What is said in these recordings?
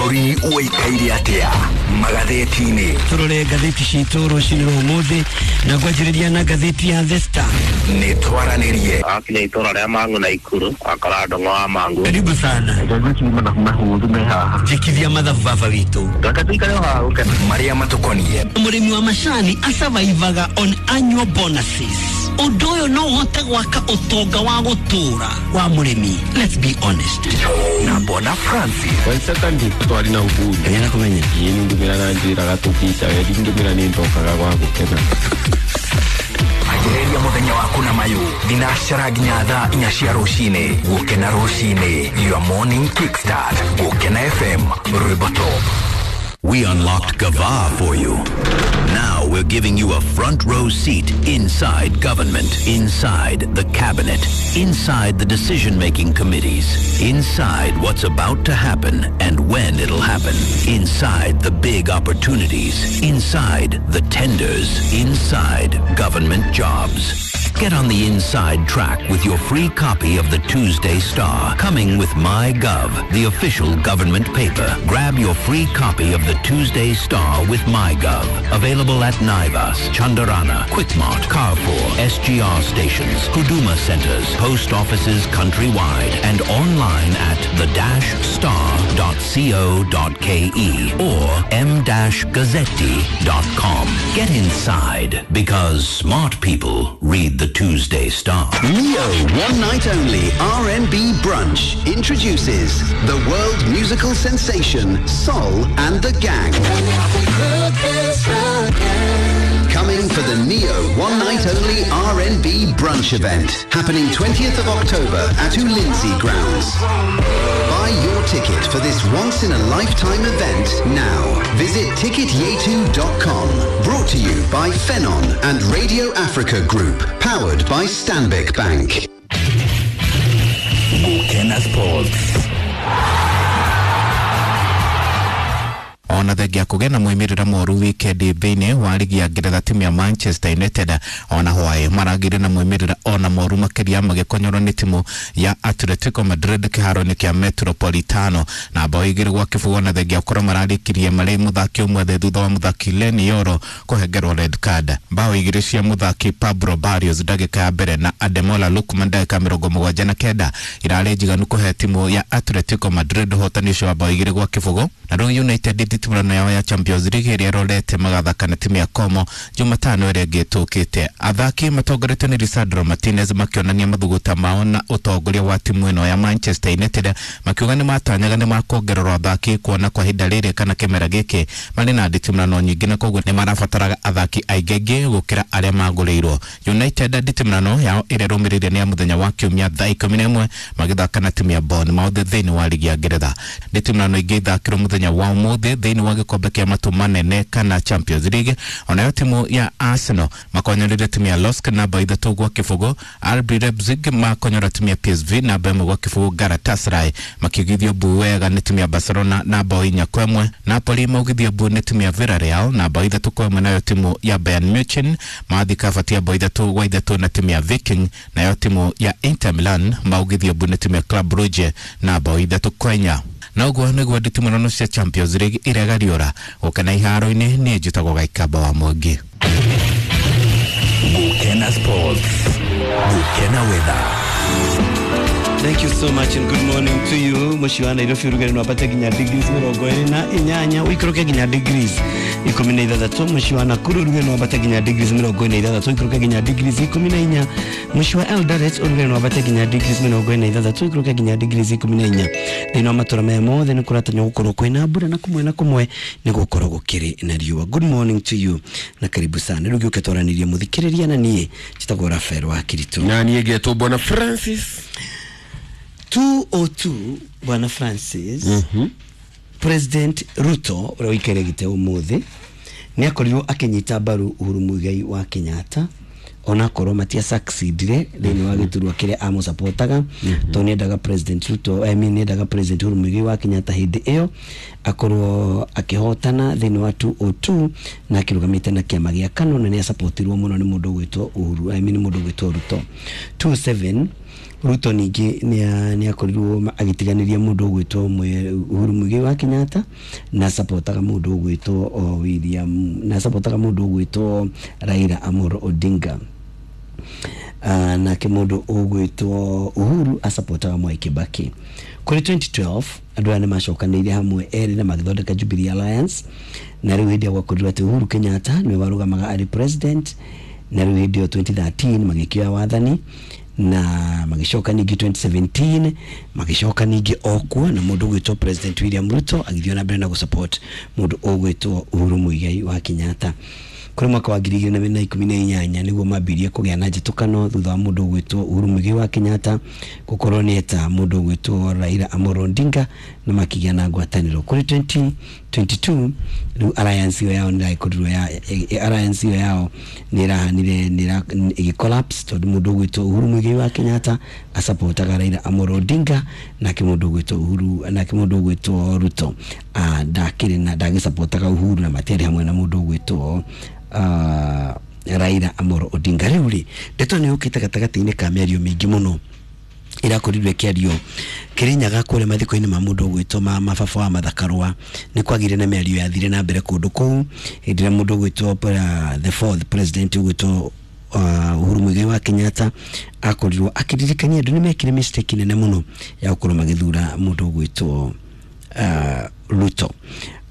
Bũrũri ũikaire atĩa magathĩti-inĩ? Turore ngathĩti citũ rũcinĩ rwa ũmũthĩ na ngwanjĩrĩria na ngathĩti ya The Star. Nĩ twaranĩrie. Akinya itũra rĩa Mang'u na Ikuru akora ndũng'o wa Mang'u. Karibu sana. Jikithia mathabu baba witũ. Reke tuikare o haha gũkena. Marĩa matũkoniĩ. Mũrĩmi wa macani asurvivaga on annual bonuses. Ũndũ ũyũ no ũhote gwaka ũtonga wa gũtũũra wa mũrĩmi. Let's be honest. Na Bona Francis. Waisaka twari na uhuru. Kenya kũmenya. Ĩĩ nĩ ndũmĩra na njĩraga tũkica wendi ndũmĩra nĩ ndokaga gwa gũkena. Anjĩrĩria mũthenya waku na mayũ thinacara nginya thaa 4 cia rũcinĩ. Gũkena rũcinĩ, your morning kickstart. Gũkena FM, rwĩmbo top. We unlocked Gava for you. Now we're giving you a front row seat inside government, inside the cabinet, inside the decision-making committees, inside what's about to happen and when it'll happen, inside the big opportunities, inside the tenders, inside government jobs. Get on the inside track with your free copy of the Tuesday Star, coming with MyGov, the official government paper. Grab your free copy of the Tuesday Star with MyGov. Available at Naivas, Chandarana, Quickmart, Carrefour, SGR stations, Huduma centers, post offices countrywide, and online at the-star.co.ke or m-gazzetti.com. Get inside, because smart people read the Tuesday Star. Neo One Night Only R&B Brunch introduces the world musical sensation Sol and the Gang. Coming for the Neo One Night Only R&B Brunch event, happening 20th of October at Ulinzi Grounds. Buy your ticket for this once-in-a-lifetime event now. Visit ticketyetu.com. Brought to you by Phenon and Radio Africa Group, powered by Stanbic Bank. Gũkena Sports. Ona thengia kũgĩa na moimĩrĩra moru wikendi thĩinĩ wa ligi ya Ngeretha, timu ya Manchester United ona hwaĩ maragĩire na moimĩrĩra ona moru makĩria magĩkonyorwo nĩ timu ya Atletico Madrid kĩharo-inĩ kĩa Metropolitano na bao 2-0. Na thengia gũkorwo mararĩkirie marĩ mũthaki ũmwe thĩ thutha wa mũthaki Leny Yoro kũhengerwo red card. Bao 2 cia mũthaki Pablo Barrios ndagĩka ya mbere na Ademola Lookman ndagĩka 79 irarĩ njiganu kũhe timu ya Atletico Madrid ũhotani ũcio wa bao 2-0. Na rĩu United nditimũrano yao ya Champions League ĩrĩa ĩrorete magathaka na timu ya Como Jumatano ĩrĩa ĩngĩ ĩtũkĩte. Athaki matongoretio nĩ Lisandro Martinez makĩonania mathuguta mao na ũtongoria wa timu ĩno ya Manchester United, makiuga nĩ matanyaga nĩ makuongererwo athaki kuona kwa ihinda rĩrĩ kana kĩmera gĩkĩ marĩ na nditimũrano nyingĩ na koguo nĩ marabataraga athaki aingĩ aingĩ gũkĩra arĩa magũrĩirwo. United nditimũrano yao ĩrĩa ĩrũmĩrĩire nĩ ya mũthenya wa Kiumia thaa 11 magĩthaka na timu ya Bournemouth thĩinĩ wa ligi ya Ngeretha. Nditimũrano ingĩ ithakĩrwo mũthenya wa ũmũthĩ thĩinĩ wa gĩkombe kĩa matu manene kana Champions League. Onayo timu ya Arsenal makonyorire timu ya Lask namba 3-0. RB Leipzig makonyora timu ya PSV namba 1-0. Galatasaray makĩgithio mbu wega nĩ timu ya Barcelona namba 4-1. Napoli maugithio mbu nĩ timu ya Villarreal namba 3-1. Nayo timu ya Bayern Munich mathika batia bao 3-3 na timu ya Viking. Nayo timu ya Inter Milan maugithio mbu nĩ timu ya Club Brugge namba 3-4. Na ũguo nĩguo nditimũrano cia Champions League iregariũra gũkena iharo-inĩ. Niĩ njĩtagwo Gaikamba wa Mwangi. Gũkena Sports. Gũkena Weather. Thank you so much and good morning to you. Mũciĩ wa Nairobi ũrugarĩ no wambate nginya degrees 28, ũikũrũke nginya degrees 16. Mũciĩ wa Nakuru ũrugarĩ no wambate nginya degrees 46, ũikũrũke nginya degrees 14. Mũciĩ wa Eldoret ũrugarĩ no wambate nginya degrees 46, ũikũrũke nginya degrees 14. Thĩinĩ wa matũra maya mothe nĩ kũratanywo gũkorwo kwĩna mbura na kũmwe na kũmwe nĩ gũkorwo gũkĩrĩ na riũa. Good morning to you na karibu sana. Rĩu gĩũke twaranĩrie mũthikĩrĩria na niĩ njĩtagwo Rafael wa Kiritu. Na niĩ ngetwo Bwana Francis. 202 Bwana Francis. President Ruto ũrĩa ũikaire gĩtĩ ũmũthĩ nĩ akorirwo akĩnyita mbaru Uhuru Muigai wa Kenyatta onakorwo matia succeedire thĩinĩ wa gĩturwa kĩrĩa amũsupportaga tondũ nĩendaga President Ruto, I mean nĩendaga President Uhuru Muigai wa Kenyatta hĩndĩ ĩyo akorwo akĩhotana thĩinĩ wa 202 na akĩrũgamĩte na kĩama gĩa KANU na nĩasupportirwo mũno nĩ mũndũ ũgwĩtwo Uhuru, I mean mũndũ ũgwĩtwo Ruto. 27 Ruto ningĩ nĩ akorirwo agĩtiganĩria mũndũ ũgwĩtwo Uhuru Muigai wa Kenyatta na supportaga mũndũ ũgwĩtwo William na supportaga mũndũ ũgwĩtwo Raila Amolo Odinga. Nake mũndũ ũgwĩtwo Uhuru asupportaga Mwai Kibaki. Kũrĩ 2012 andũ aya nĩmacokanĩire hamwe erĩ na magĩthondeka Jubilee Alliance, na rĩu hĩndĩ ĩyo gwakorirwo atĩ Uhuru Kenyatta nĩwe warũgamaga arĩ president, na rĩu hĩndĩ ĩyo 2013 magĩkĩoya wathani na magĩcoka ningĩ 2017 magĩcoka ningĩ okuo na mũndũ ũgwĩtwo President William Ruto agĩthiĩ na mbere na gũsupport mũndũ ũgwĩtwo Uhuru Muigai wa Kenyatta. Kũrĩ mwaka wa 2018 nĩguo mambirie kũgĩa na njĩtũkano thutha wa mũndũ ũgwĩtwo Uhuru Muigai wa Kenyatta gũkorwo nĩeta mũndũ ũgwĩtwo Raila Amolo Odinga na makĩgĩa na ngwatanĩro. Kũrĩ 2022 rĩu alliance ĩyo yao nĩrakorirwo ya alliance ĩyo yao nĩrahanire ĩgĩ collapse tondũ mũndũ ũgwĩtwo Uhuru Muigai wa Kenyatta asupportaga Raila Amolo Odinga, nake mũndũ ũgwĩtwo Uhuru nake mũndũ ũgwĩtwo Ruto ndakĩrĩ na ndagĩsupportaga Uhuru na matiarĩ hamwe na mũndũ ũgwĩtwo Raila Amolo Odinga. Rĩu rĩ ndeto nĩ yũkĩte gatagatĩ-inĩ ka mĩario mĩingĩ mũno irakorirwo ĩkĩario Kĩrĩnyaga kũrĩa mathiko-inĩ ma mũndũ ũgwĩtwo mababa wa Mathakarũa nĩ kwagĩire na mĩario yathire na mbere kũndũ kũu hĩndĩ ĩrĩa mũndũ ũgwĩtwo the fourth president ũgwĩtwo Uhuru Muigai wa Kenyatta akorirwo akĩririkania andũ nĩ mekire mistake nene mũno ya gũkorwo magĩthura mũndũ ũgwĩtwo Ruto.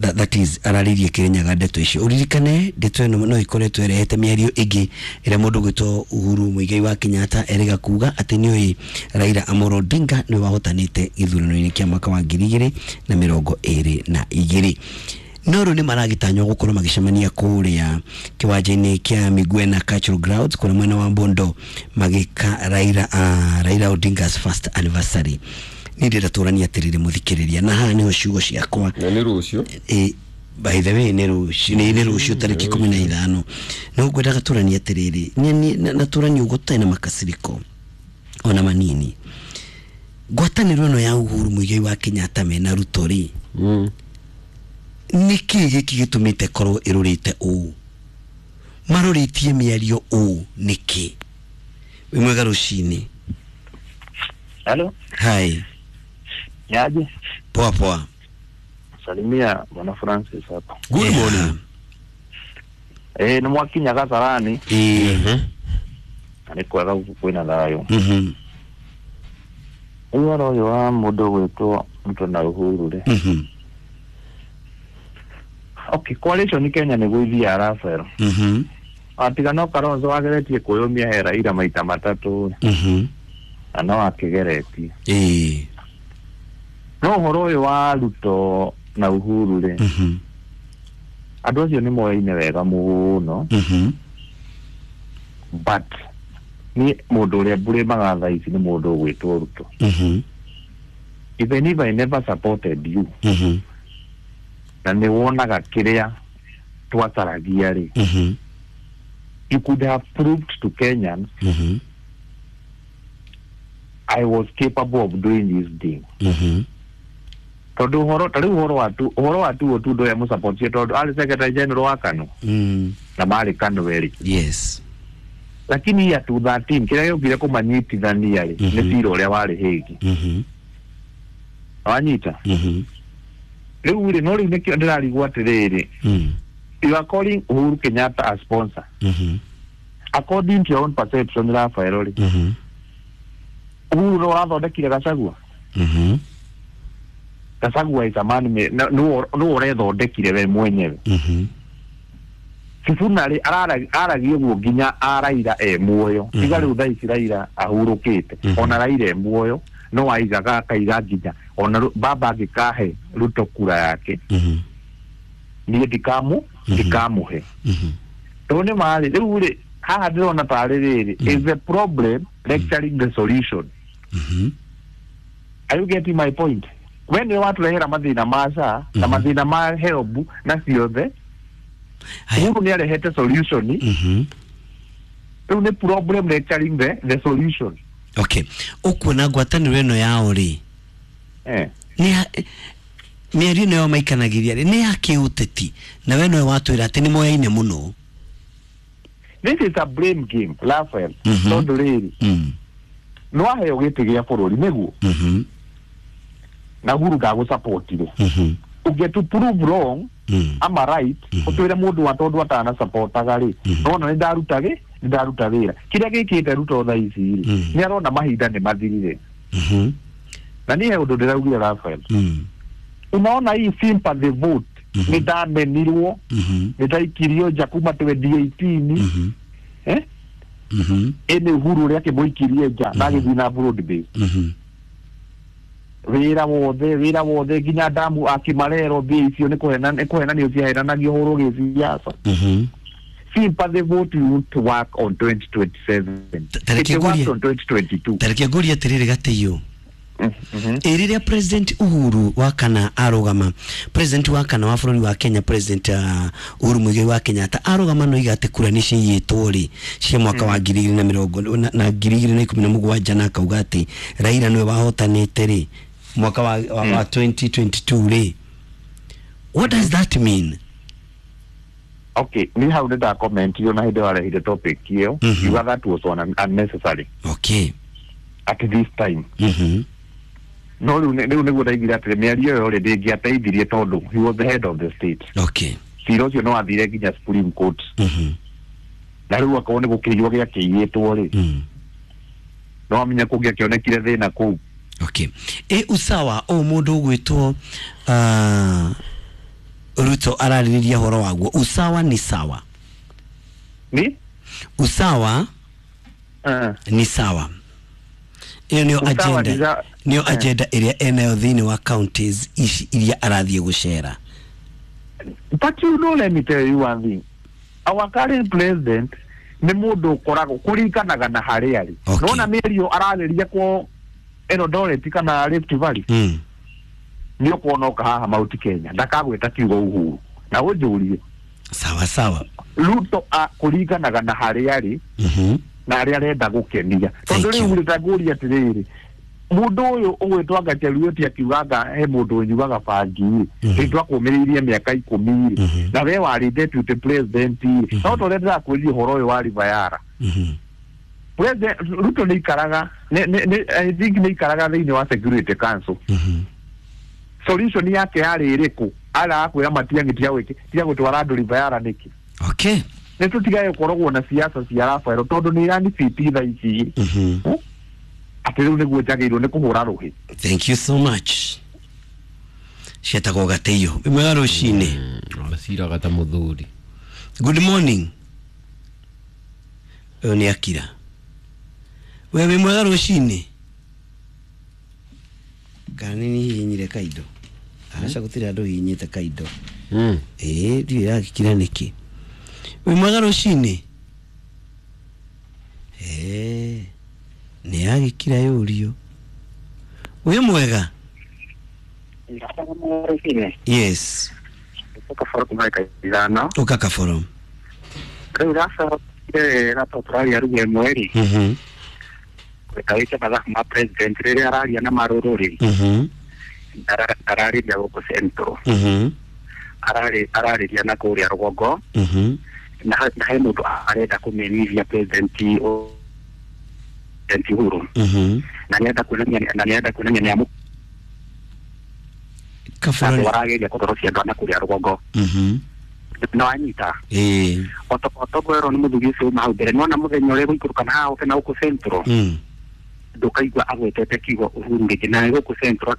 That is araririe Kĩrĩnyaga ndeto icio. Ũririkane ndeto ĩno no ĩkoretwo ĩrehete mĩario ĩngĩ ĩrĩa mũndũ ũgwĩtwo Uhuru Muigai wa Kenyatta erĩga kuga atĩ nĩoĩ Raila Amolo Odinga nĩwe wahotanĩte gĩthurano-inĩ kĩa mwaka wa 2022. No rĩu nĩ maragĩtanywo gũkorwo magĩcemania kũrĩa kĩwanja-inĩ kĩa Migwena Cultural Grounds kũrĩa mwena wa Bondo magĩka Raila Odinga's first anniversary. Niĩ ndĩrenda tũranie atĩrĩrĩ mũthikĩrĩria, na haha nĩho ciugo ciakwa na nĩ rũciũ. By the way nĩ rũciũ, nĩ rũciũ tarĩki 15. No ngwendaga tũranie atĩrĩrĩ na tũranie ũguo tũtarĩ na makasiriko ona manini. Ngwatanĩro ĩno ya Uhuru Muigai wa Kenyatta mena Ruto rĩ, nĩkĩ gĩkĩ gĩtũmĩte korwo ĩrũrĩte ũũ, marorĩtie mĩario ũũ nĩkĩ? Wĩ mwega rũcinĩ. Hello. Hi. Niaje? Poa poa. Salimia Bwana Francis hapa. Good morning. Ni mwakinya Kasarani. Na kwega kwina thayo. Ũhoro ũyũ wa mũndũ gwĩtwo Ruto na Uhuru rĩ. Okay, coalition Kenya nĩguo ithiaga Rafael. Atiga no Kalonzo wageretie kwĩyũmia he Raila maita matatũ. Na no akĩgeretie. No ũhoro ũyũ wa Ruto na Uhuru rĩ, andũ acio nĩ moyaine wega mũno. But ni mũndũ ũrĩa mbũrĩmaga thaa ici nĩ mũndũ ũgwĩtwo Ruto. Even if I never supported you, na nĩ wonaga kĩrĩa twacaragia rĩ, you could have proved to Kenyans I was capable of doing this thing. Tondũ ũhoro ta rĩu ũhoro wa tu Otundo ya mũsupportie tondũ arĩ secretary general wa KANU na marĩ KANU erĩ. Yes. Lakini ya 2013 kĩrĩa gĩokire kũmanyitithania rĩ nĩ cira ũrĩa warĩ Hague. Wanyita? Rĩu rĩ no rĩu nĩkĩo ndĩrarigwo atĩrĩrĩ, you are calling Uhuru Kenyatta a sponsor. According to your own perception, Rafael rĩ, Uhuru no athondekire Gachagua. Gachagua is a man no ũrethondekire we mwenyewe. Sifuna rĩ aragia ũguo nginya Raila e muoyo. Tiga rĩu thaa ici Raila ahurũkĩte, ona Raila e muoyo no aigaga akaiga nginya ona baba angĩkahe Ruto kura yake niĩ ndikamũhe. Tondũ nĩ marĩ rĩu rĩ haha ndĩrona tarĩ rĩrĩ is the problem lecturing the solution. Are you getting my point? We nĩwe watũrehera mathĩna ma SHA na mathĩna ma HELB na ciothe. Uhuru nĩ arehete solution. Rĩu nĩ problem lecturing the solution. Okay. Ũkuona ngwatanĩro ĩno yao rĩ, mĩario ĩno yao maikanagĩria rĩ nĩ ya kĩũteti, na we nowe watwĩra atĩ nĩ moyaine mũno. This is a blame game, Raphael. Tondũ rĩrĩ No aheo gĩtĩ gĩa bũrũri nĩguo. Na Uhuru ndagũsupportire. Ũngĩ to prove wrong ama right, ũtwĩre mũndũ wa tondũ atanasupportaga rĩ, nona nĩ ndaruta gĩ nĩ ndaruta wĩra. Kĩrĩa gĩkĩte Ruto thaa ici rĩ, nĩ arona mahinda nĩ mathirire. Na niĩ he ũndũ ndĩraugire, Raphael. Unaona hii sympathy vote, nĩ ndamenirwo, nĩ ndaikirio nja kuma 2018, eh ĩnĩ Uhuru ũrĩa akĩmũikirie nja na agĩthiĩ na broad base. Wĩra wothe nginya damu akimarero mbia icio nĩ kũhenanio ciahenanagio hũrwo gĩsiasa. Sympathy vote won't work on 2027. Tareke It worked ngurie. on 2022. Tareke ngurie atiriri, Gatĩiũ, ĩ rĩrĩa President Uhuru wa kana arũgama, president wa kana wa bũrũri wa Kenya, President Uhuru Muigai wa Kenyatta arũgama, no iga atĩ kura nĩ ciiyĩtwo rĩ cia mwaka wa ngiri igĩrĩ na mĩrongo na 2017, na akauga atĩ Raila nĩwe wahotanĩte rĩ mwaka wa 2022 rĩ, what does that mean? Okay, ni hau nĩ ndakomentire na hĩndĩ warehire topic ĩyo. Yuga that was unnecessary at this time. No rĩu rĩu nĩguo ndaigire atĩrĩ, mĩario ĩyo rĩ ndĩngĩateithirie tondũ he was the head of the state. Cira ũcio no wathire nginya Supreme Court. Na rĩu akorwo nĩ gũkĩiywo gĩakĩiyĩtwo rĩ, no amenya kũngĩakĩonekire thĩna kũu. Okay, ĩ usawa o mũndũ ũgwĩtwo Ruto ararĩrĩria ũhoro waguo, usawa ni sawa? Ni Usawa ni sawa, ĩyo nĩyo Usawa agenda ni nĩyo agenda ĩrĩa enayo thĩinĩ wa counties ici iria arathiĩ gũcera. But you know, let me tell you one thing. Our current president nĩ mũndũ ũkoragwo kũringanaga na harĩa arĩ. Nona mĩario ararĩria kwa Eldoret kana Rift Valley, nĩ ũkuona oka haha Mount Kenya ndakagwĩta kiugo Uhuru na ũnjũrie. Sawa sawa. Ruto kũringanaga na harĩa arĩ na harĩa arenda gũkenia, tondũ rĩu rĩ tangũria atĩrĩrĩ, mũndũ ũyũ ũgwĩtwo anga Cheruiyot akiugaga he mũndũ ũnyuaga bangi rĩ, rĩ twakũmĩrĩirie mĩaka 10 rĩ, na we warĩ deputy president rĩ, no ta ũrĩa ndĩrakwĩrire ũhoro ũyũ wa Ribayara, President Ruto nĩ ikaraga I think nĩ ikaraga thĩinĩ wa Security Council. Solution yake yarĩ ĩrĩkũ? Arakwĩra Matiang'i tiga gũtwara andũ Ribayara nĩkĩ? Nĩ tũtigage gũkoragwo na siasa cia Rafael tondũ nĩ iranibiti thaa ici. Atĩ rĩu nĩguo njagĩrĩirwo nĩ kũhũra rũhĩ. Thank you so much. Cietagwo Gatĩiũ, wĩ mwega rũcinĩ. Aciraga ta mũthuri. Good morning. Ũyũ nĩ akira. We wĩ mwega rũcinĩ, kana nĩ hihinyire kaindo? Aca, gũtirĩ andũ hihinyĩte kaindo. Ĩĩ, ndiũĩ yagĩkira nĩkĩ. Wĩ mwega rũcinĩ. Ĩĩ, nĩ yagĩkira yũrio. Wĩ mwega? Yes. Kaboro kuma 5. Ũka, Kaboro. Rĩu racokire gato tũraria ruga ĩmwe rĩ, wĩte mathabu ma president rĩrĩa araria na marũrũ rĩ, ararĩria gũkũ Central, ararĩria na kũrĩa rũgongo, na he mũndũ arenda kũmenithia President Uhuru, na nĩarenda kuonania nĩ amũ Kaboro. Andũ arageria kũtorocia andũ a na kũrĩa rũgongo. No anyita. Ĩĩ. Otoguo nĩ mũthuri ũcio uma hau mbere, nĩwona mũthenya ũrĩa gũikũrũka na haha oke na gũkũ Central, ndũkaigua agwetete kiugo Uhuru rĩngĩ na gũkũ Central.